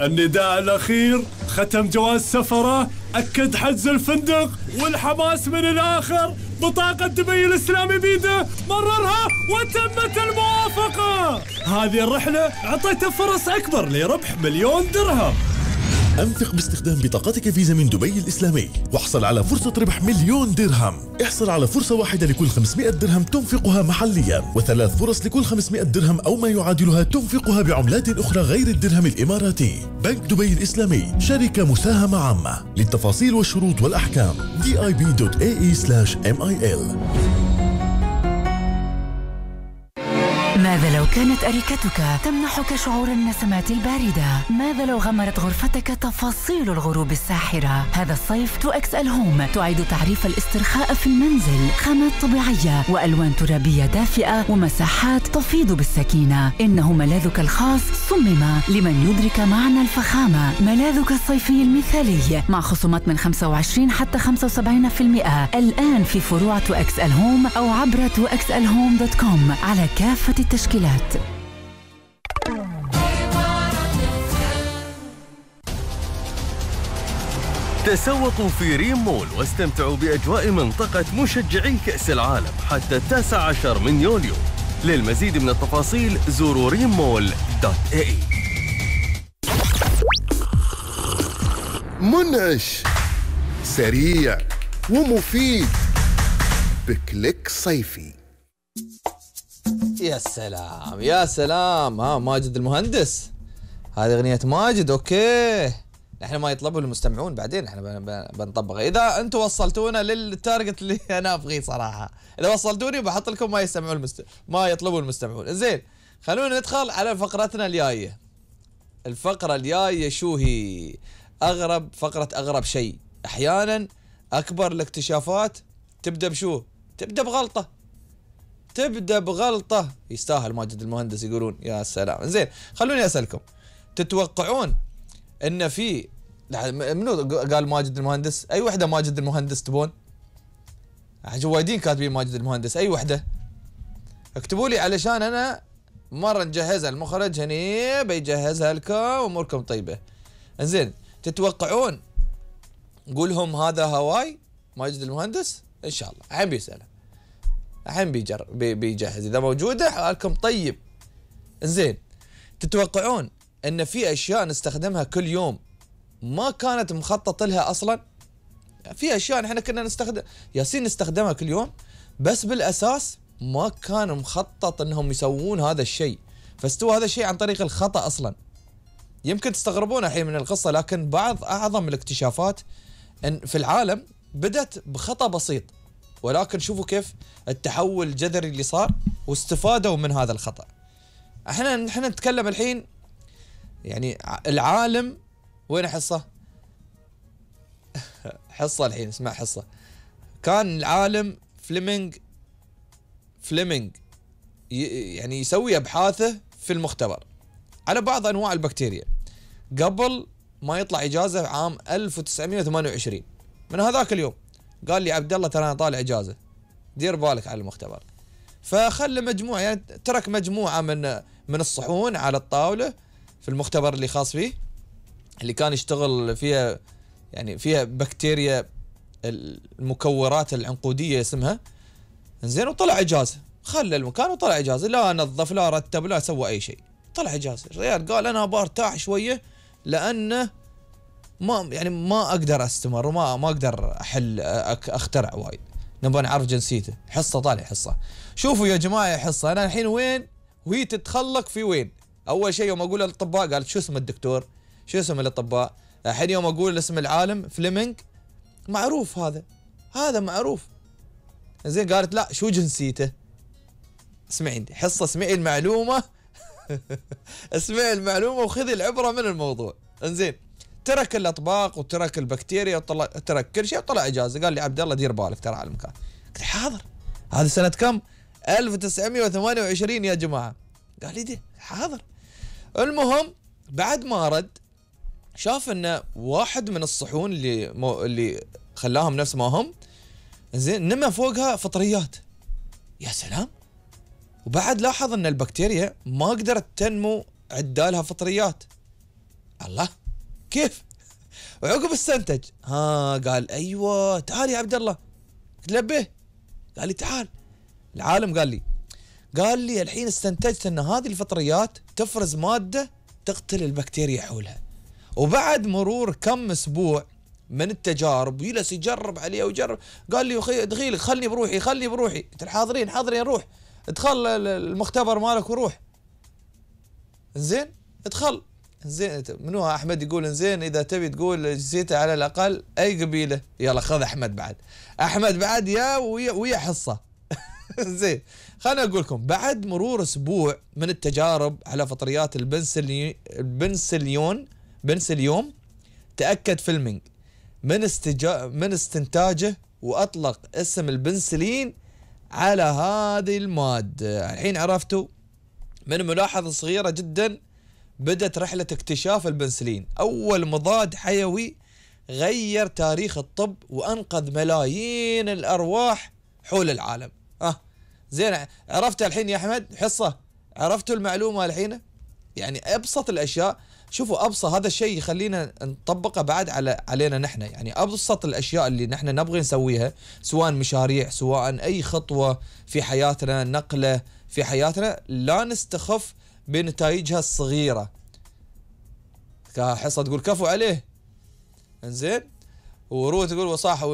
النداء الأخير ختم جواز سفره، أكد حجز الفندق، والحماس من الآخر. بطاقة دبي الإسلامي بيده، مررها وتمت الموافقة. هذه الرحلة أعطيته فرص أكبر لربح 1,000,000 درهم. أنفق باستخدام بطاقتك فيزا من دبي الإسلامي واحصل على فرصة ربح 1,000,000 درهم. احصل على فرصة واحدة لكل 500 درهم تنفقها محليا، و3 فرص لكل 500 درهم أو ما يعادلها تنفقها بعملات أخرى غير الدرهم الإماراتي. بنك دبي الإسلامي شركة مساهمة عامة. للتفاصيل والشروط والأحكام dib.ae/mil. ماذا لو كانت أريكتك تمنحك شعور النسمات الباردة؟ ماذا لو غمرت غرفتك تفاصيل الغروب الساحرة؟ هذا الصيف 2XL هوم تعيد تعريف الاسترخاء في المنزل، خامات طبيعية وألوان ترابية دافئة ومساحات تفيض بالسكينة. إنه ملاذك الخاص صمم لمن يدرك معنى الفخامة. ملاذك الصيفي المثالي مع خصومات من 25 حتى 75% الآن في فروع 2XL هوم أو عبر 2XLhome.com على كافة التشكيلات. تسوقوا في ريم مول واستمتعوا بأجواء منطقة مشجعي كأس العالم حتى 19 من يوليو. للمزيد من التفاصيل زوروا rimmall.ae. منعش، سريع ومفيد، بكليك صيفي. يا سلام يا سلام. ها ماجد المهندس، هذه أغنية ماجد. أوكي، نحن ما يطلبوا المستمعون بعدين احنا بنطبقها. إذا أنتم وصلتونا للتارجت اللي أنا أبغيه صراحة، إذا وصلتوني بحط لكم ما يستمعون ما يطلبوا المستمعون. زين، خلونا ندخل على فقرتنا الجاية. الفقرة الجاية شو هي؟ أغرب فقرة، أغرب شيء. أحيانا أكبر الاكتشافات تبدأ بشو؟ تبدأ بغلطة. يستاهل ماجد المهندس يقولون. يا سلام. زين، خلوني أسألكم، تتوقعون ان في منو قال ماجد المهندس؟ اي وحده ماجد المهندس تبون؟ جوادين كاتبين ماجد المهندس. اي وحده اكتبوا لي علشان انا مره نجهزها، المخرج هني بيجهزها لكم واموركم طيبه. زين، تتوقعون نقولهم هذا هواي ماجد المهندس؟ ان شاء الله الحين بيسأله، الحين بيجهز. اذا موجوده حالكم طيب. زين، تتوقعون ان في اشياء نستخدمها كل يوم ما كانت مخطط لها اصلا؟ في اشياء احنا كنا نستخدمها كل يوم، بس بالاساس ما كان مخطط انهم يسوون هذا الشيء، فاستوى هذا الشيء عن طريق الخطأ اصلا. يمكن تستغربون الحين من القصة، لكن بعض اعظم الاكتشافات في العالم بدت بخطأ بسيط، ولكن شوفوا كيف التحول الجذري اللي صار واستفادوا من هذا الخطأ. احنا نتكلم الحين يعني العالم وين حصة؟ حصة الحين، اسمع حصة. كان العالم فليمنج يعني يسوي أبحاثه في المختبر على بعض أنواع البكتيريا قبل ما يطلع إجازة عام 1928. من هذاك اليوم قال لي عبد الله ترى أنا طالع إجازة، دير بالك على المختبر. فخلى مجموعة، يعني ترك مجموعة من الصحون على الطاولة في المختبر اللي خاص فيه، اللي كان يشتغل فيها، يعني فيها بكتيريا المكورات العنقودية اسمها. زين، وطلع إجازة، خلى المكان وطلع إجازة، لا نظف لا رتب لا سوى أي شيء، طلع إجازة. الرجال قال أنا برتاح شوية لأنه ما أقدر أستمر وما أقدر أخترع وايد، نبغى نعرف جنسيته. حصة طالع حصة. شوفوا يا جماعة حصة، أنا الحين وين وهي تتخلق في وين. أول شيء يوم أقول للأطباء قالت شو اسم الدكتور؟ شو اسم الأطباء؟ الحين يوم أقول اسم العالم فليمنج معروف، هذا معروف. زين، قالت لا شو جنسيته؟ اسمعي عندي حصة، اسمعي المعلومة اسمعي المعلومة وخذي العبرة من الموضوع. انزين، ترك الأطباق وترك البكتيريا وترك كل شيء وطلع إجازة. قال لي عبد الله دير بالك ترى على المكان. قلت حاضر. هذا سنة كم؟ 1928 يا جماعة. قال لي دي حاضر. المهم بعد ما رد شاف ان واحد من الصحون اللي خلاهم نفس ما هم، زين، نما فوقها فطريات. يا سلام. وبعد لاحظ ان البكتيريا ما قدرت تنمو عدالها فطريات. الله كيف؟ وعقب استنتج قال ايوه تعال يا عبد الله. قلت له به؟ قال لي تعال. العالم قال لي الحين استنتجت ان هذه الفطريات تفرز ماده تقتل البكتيريا حولها. وبعد مرور كم اسبوع من التجارب يجلس يجرب عليه ويجرب، قال لي اخي دخيلك خلني بروحي. قلت له حاضرين روح ادخل المختبر مالك وروح. زين ادخل. زين منو احمد يقول زين اذا تبي تقول جزيته على الاقل اي قبيله، يلا خذ احمد بعد يا ويا حصه. زين خلنا اقول لكم بعد مرور اسبوع من التجارب على فطريات البنسليون تاكد فيلمينج من استنتاجه واطلق اسم البنسلين على هذه الماده. الحين عرفتوا من ملاحظه صغيره جدا بدت رحلة اكتشاف البنسلين، أول مضاد حيوي غير تاريخ الطب وأنقذ ملايين الأرواح حول العالم. زين عرفت الحين يا أحمد حصة؟ عرفتوا المعلومة الحين؟ يعني أبسط الأشياء، شوفوا أبسط هذا الشيء يخلينا نطبقه بعد علينا نحن. يعني أبسط الأشياء اللي نحن نبغي نسويها، سواء مشاريع سواء أي خطوة في حياتنا، نقلة في حياتنا، لا نستخف بنتائجها الصغيرة. كحصة تقول كفو عليه. انزين ورود تقول وصاحة